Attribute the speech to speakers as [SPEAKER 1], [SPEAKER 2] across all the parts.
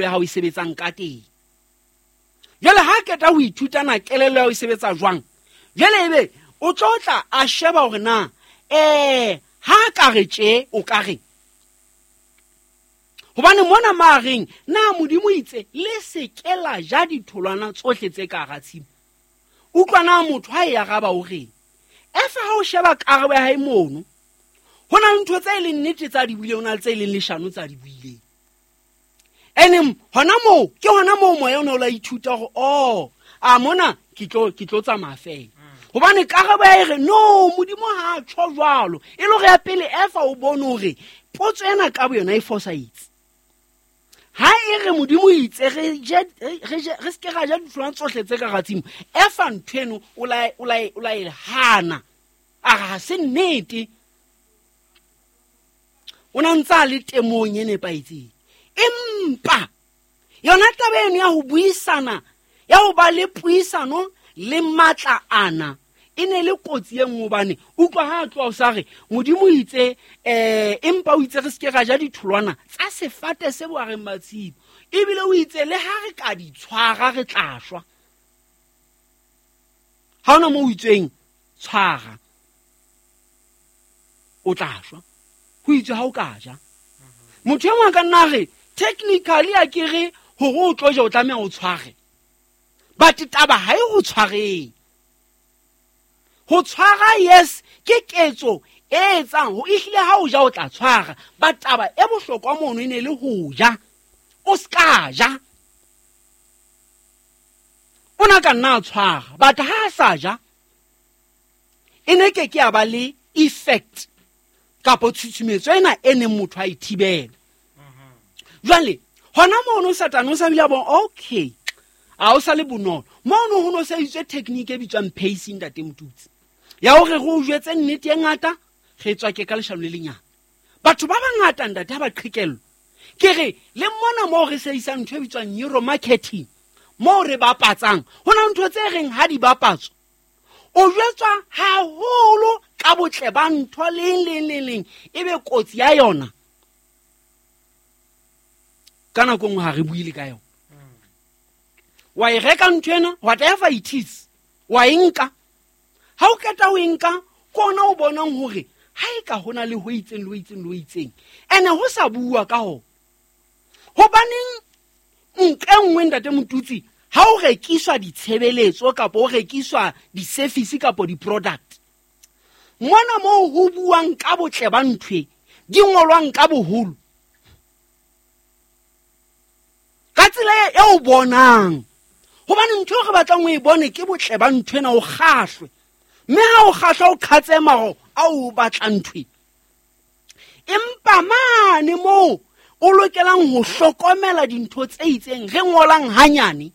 [SPEAKER 1] ya hao e sebetsang ka teng. Jwale ha qeta ho ithuta na kelello ya hao e sebetsa jwang, jwale ebe o tlo tla a sheba hore na ha ka re tje o ka reng. Hobane mona ma reng na Modimo itse le se ke la ja ditholwana tsohle tse ka hara tshimo. Utlwa na motho ha e araba o reng. Efa ha o sheba karabo ya hae mono, ho na le ntho tse e leng nnete tsa di buileng, ho na le tse e leng leshano tsa di buileng. Ene hona moo, ke hona moo moya o ne o la ithuta hore, oh, a mona ke tlo tsamaya fela. Hobane karabo ya e re, no, Modimo ha a tjho jwalo. E le hore ya pele Efa o bone hore potso ena ka boyona e fosahetse. Ha e re Modimo itse re se ke ra ja ditholwana tsohle tse ka hara tshimo, Efa ntho eno o la e hana. A re ha se nnete. O na ntse a le temong e nepahetseng. Empa yona taba eno ya ho buisana, ya ho ba le puisano le matla ana, e ne le kotsi e nngwe, hobane utlwa ha a tloha o sa re Modimo o itse, empa o itse re se ke ra ja ditholwana tsa sefate se bohareng ba tshimo, ebile o itse le ha re ka di tshwara re tla shwa. Ha hona moo o itsweng tshwara o tla shwa, ho itswe ha o ka ja. Motho e mong a ka nna re technically a ke re hore o tlo ja o tlameha o tshware, but taba ha e ho tshwareng. Ho tshwara, yes, ke ketso e etsang ho ehlile ha o ja o tla tshwara, but taba e bohlokwa mono e ne le ho ja, o ska ja. O na ka nna a tshwara, but ha a sa ja e ne ke ke ya ba le effect kapo tshutshumetso ena e neng motho a e thibela. Jwale hona mono Satane o sa bile a bona, okay, a o sa le bonolo. Mono ho no se itswe technique e bitswang pacing, ntate Motutsi, ya hore re o jwetse nnete e ngata, re tswa ke ka leshano le lenyane. Batho ba bangata ntate ha ba qhekellwa. Ke re le mona moo re sebedisang ntho e bitswang neuromarketing, moo re bapatsang, ho na ntho tse reng ha di bapatswa, o jwetswa haholo ka botle ba ntho leng leng leng leng, ebe kotsi ya yona ka nako nngwe ha re buile ka yona. Wa e reka ntho ena, whatever it is, wa e nka. Ha o qeta ho e nka, ke ona o bonang hore ha e ka hona le ho itseng le ho itseng le ho itseng, ene ho sa bua ka hona. Hobaneng nqa e nngwe ntate Motutsi, ha o rekiswa ditshebeletso kapa o rekiswa di-service kapa di-product, mona moo ho buang ka botle ba ntho e, di ngolwang ka boholo, ka tsela e o bonang, hobane ntho eo re batlang o e bone ke botle ba ntho ena, o kgahlwe. Mme ha o kgahlwa, o qhatse maro a o batlang ntho e. Empa mane moo o lokelang ho hlokomela dintho tse itseng, re ngolang hanyane,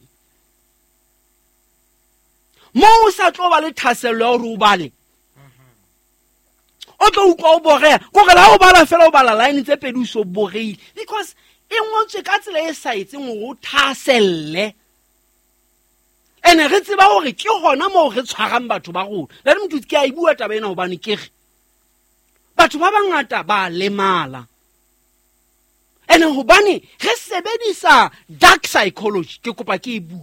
[SPEAKER 1] moo o sa tlo ba le thahasello ya hore o bale, o tlo utlwa o boreha. Kore le ha o bala fela, o bala line tse pedi o so boreile, because e ngotswe ka tsela e sa etseng hore o thahaselle. Ene re tseba hore ke hona moo re tshwarang batho ba rona. Le re motho ke a e bua taba ena hobane ke re batho ba bangata ba lemala. Ene hobane re sebedisa dark psychology, ke kopa ke e bue.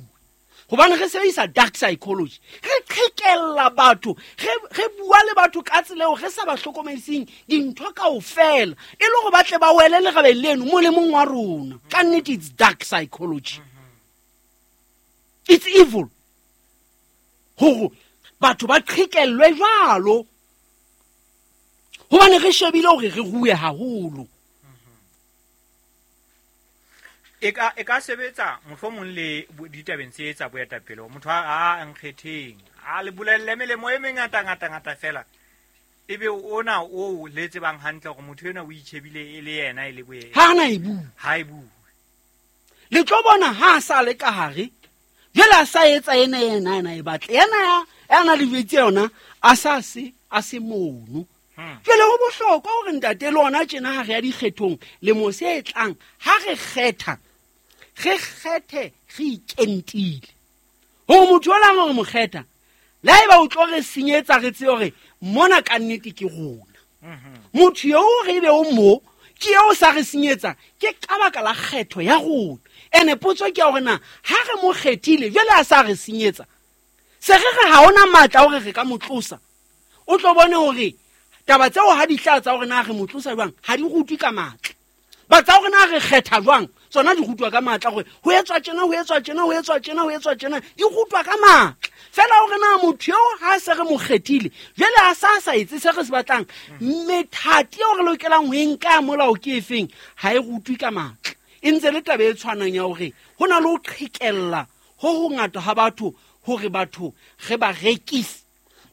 [SPEAKER 1] Hobane re sebedisa dark psychology, re qhekella batho, re bua le batho ka tsela eo re sa ba hlokomediseng dintho kaofela, e le hore ba tle ba wele lerabeng leno molemong wa rona. Ka nnete it's dark psychology. It's evil. Hore batho ba qhekellwe jwalo. Hobane re shebile hore re rue haholo.
[SPEAKER 2] E ka sebetsa mohlomong le ditabeng tse tsa boetapele. Motho a nkgetheng, a le bolelle melemo e mengata ngata ngata fela. Ebe ona o le tsebang hantle hore motho enwa o itjhebile e le yena e le boye.
[SPEAKER 1] Ha ana e bue.
[SPEAKER 2] Ha e bue.
[SPEAKER 1] Le tlo bona ha a sa le ka hare, jwale a sa etsa ena ena ena e batla. Ena ya, ya na le jwetse yona, a sa se, a se mono. Jwale ho bohlokwa hore ntate le ona tjena ha re ya dikgethong, lemo se tlang, ha re kgetha, re kgethe re ikentile. Hore motho o lang hore mo kgetha, le haeba o tlo re senyetsa re tsebe hore mona ka nnete ke rona. Motho eo re be o mo, ke eo sa re senyetsa, ke ka baka la kgetho ya rona. Ene potso ke ya hore na ha re mo kgethile jwale a sa re senyetsa, se re re ha ona matla a hore re ka mo tlosa. O tlo bone hore taba tseo ha di tla tsa hore na re mo tlosa jwang ha di rutwe ka matla, ba tsa hore na re kgetha jwang tsona di rutwa ka matla, gore ho etswa tjena, ho etswa tjena, ho etswa tjena, ho etswa tjena, di rutwa ka matla. Fela hore na motho eo ha se re mo kgethile jwale a sa sa etse se re se batlang, methati eo re lokelang ho e nka ya molao ke efeng, ha e rutwe ka matla. E ntse le taba e tshwanang ya hore ho na le ho qhekella ho hongata ha batho, hore batho re ba rekise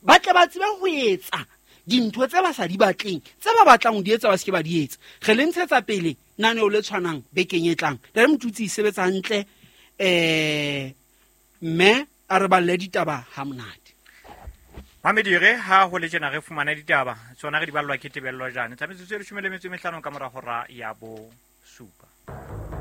[SPEAKER 1] ba tle ba tsebe ho etsa dintho tse ba sa di batleng, tse ba batlang ho di etsa ba se ke ba di etsa. Re le ntshetsa pele naneo le tshwanang bekeng e tlang. Ntate Motutsi, sebetsa hantle, mme a re balle ditaba ha monate.
[SPEAKER 2] Mamedire, ha ho le tjena re fumana ditaba tsona re di ballwa ke Tebello Jane tsa metsotso e 15 ka mora hora ya 7.